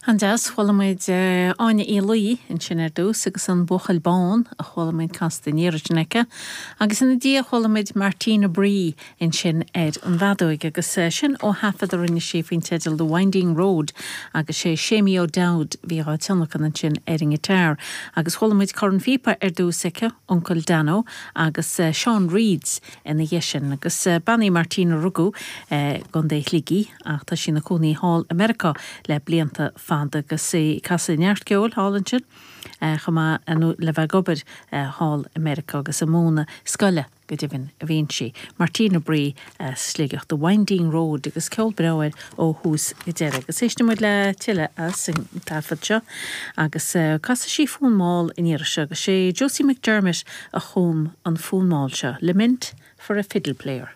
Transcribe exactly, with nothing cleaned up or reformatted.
An-deas, chuala muid Áine Uí Laoi ansin ar dtús agus an Buachaill Bán a chuala muid casta an iarraidh sin aici, agus ina diaidh chuala muid Martina Bree ansin ar an bhfeadóig agus sin ó thaifead a rinne sí faoin teideal The Winding Road agus sé Séimí O'Dowd bhí á tionlacan ansin ar an ngiotár. Agus chuala muid cornphíopa ar dtús aici, Uncle Dano agus Sean Reeds ina dhiaidh sin agus bean í Martina rugadh i gContae Shligigh ach tá sí ina cónaí thall i Meiriceá le blianta fada agus í ag casadh neart ceoil thall ansin chomh maith le bheith ag obair thall i Meiriceá agus ag múineadh scoile go deimhin a bhíonn sí. Martina Bree Sligeach The Winding Road agus ceol breá air ó thús go deireadh. Agus éistfidh muid le tuilleadh as an taifead seo agus casfaidh sí fonn mall an iarraidh seo agus sé Josie McDermott a chum an fonn mall seo, Lament for a Fiddle Player.